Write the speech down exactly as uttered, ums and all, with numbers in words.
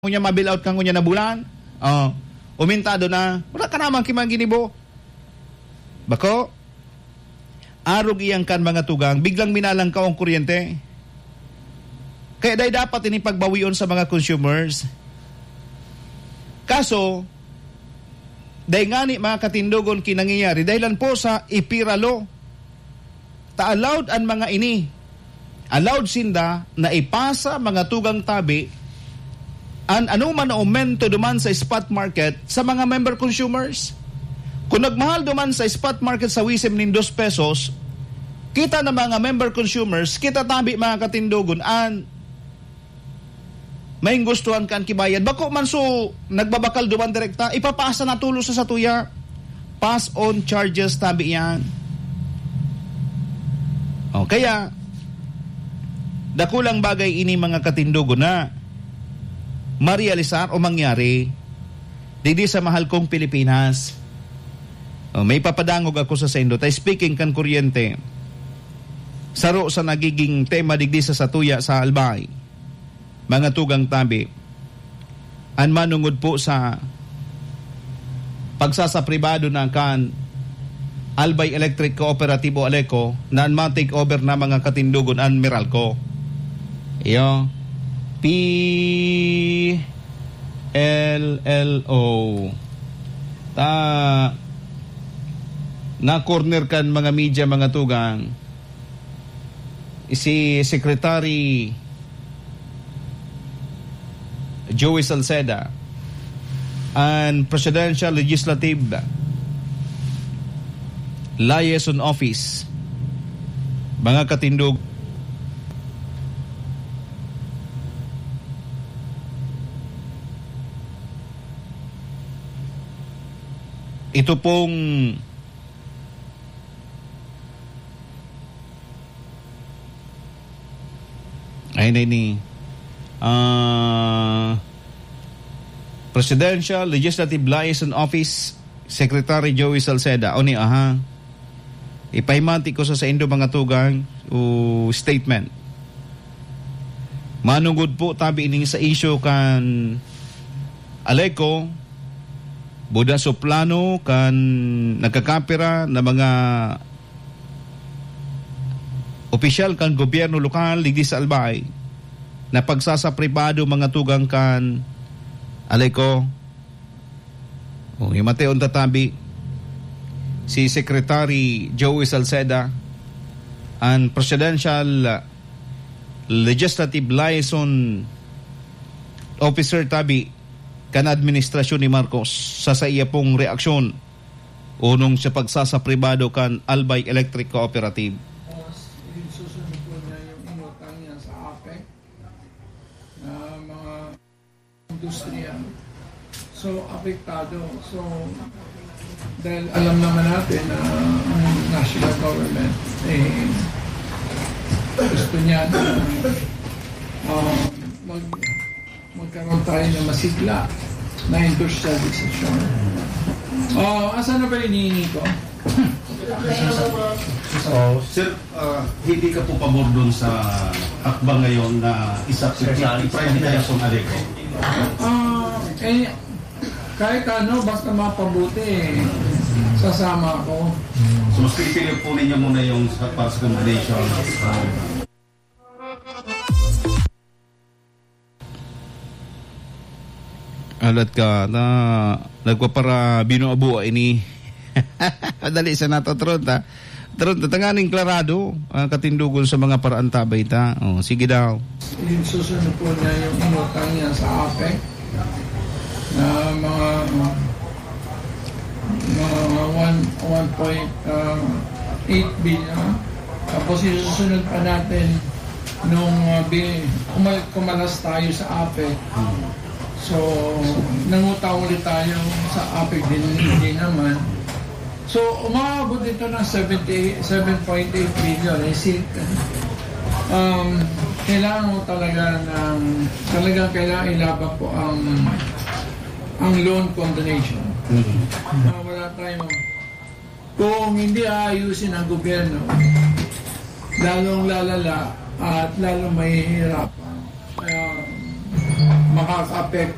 ngunyan ma-bail out ka ngunyan na bulan. Oh, umintado na. Wala ka naman kimang ginibo. Bako, arog iyang kan mga tugang, biglang minalangkaw ang kuryente. Kaya dai dapat ini pagbawion sa mga consumers. Kaso, dai ngani mga katindogon kinangyayari, dahilan po sa ipira law. Ta allowed an mga ini. Allowed sinda na ipasa mga tugang tabi an anoman na aumento duman sa spot market sa mga member consumers. Kung nagmahal duman sa spot market sa Wisem nin dos pesos, kita na mga member consumers, kita tabi mga katindogon, an main gustuhan kan kibayad. Bako man so nagbabakal duman direkta, ipapasa na tulos sa satuya. Pass on charges tabi yan. O, kaya, dakulang bagay ini mga katindogon na marealisar o mangyari digdi sa mahal kong Pilipinas. O, may papadangog ako sa saindo. Tay speaking kan kuryente, saro sa nagiging tema digdi sa satuya sa Albay, mga tugang tabi, an manungod po sa pagsasapribado na kan Albay Electric Cooperative o ALECO na an ma-take over na mga katindogon an Meralco. Iyo, P L L O. Ta, na-corner kan mga media, mga tugang. Si Secretary Joey Salceda, an Presidential Legislative Liaison Office, mga katindog. Ito pong Ay, na ini. Ah, Presidential Legislative Liaison Office Secretary Joey Salceda. O ni, aha. Ipahimati ko sa saindo mga tugang o statement. Manungod po tabi ining sa isyu kan ALECO, buda so plano kan nagkakapira na mga opisyal kan gobyerno lokal digdi sa Albay na pagsasapribado mga tugang kan ALECO. O, himati on tatabi si Secretary Joey Salceda, an Presidential Legislative Liaison Officer tabi kan administrasyon ni Marcos, sa saiya pong reaksyon onong sa pagsasapribado kan Albay Electric Cooperative. Susunod po niya yung inutang niya sa APEC na mga industriya. So, apektado. So, dahil alam naman natin na ang national government, eh, gusto niya na, ah, mag-, magkaroon tayo ng masigla na industrialization. Ah, asan na ba yung hinihingi ko? Oh, sir, ah, hindi ka po pabor doon sa hakbang ngayon na isa, i-privatize ang ALECO? Ah, eh, kahit ano, basta mapabuti, eh, sasama ako. So, mas pipili po ninyo muna yung sa, para sa combination. Alat ka na nagpapara binuabua ini. Dali sa nato, Tron, ta. Tron, ta, tanganing klarado ang katindugon sa mga paraan tabay ta. Oh, sige daw. Yung susunod po niya yung inutang niya sa APEC na mga, mga one, one point eight billion. Tapos isusunod pa natin nung, uh, bi-, umal-, kumalas tayo sa APEC. So, nangutang ulit tayo sa APEC din, hindi naman. So, umabot ito ng seventy, seven point eight billion. Eh, si, um, kailangan mo talaga ng, talagang kailangan ilaban po ang, ang loan condonation. Na wala tayong, kung hindi aayusin ang gobyerno, lalong lalala at lalong mahihirapan. Kaya, makaka-apekto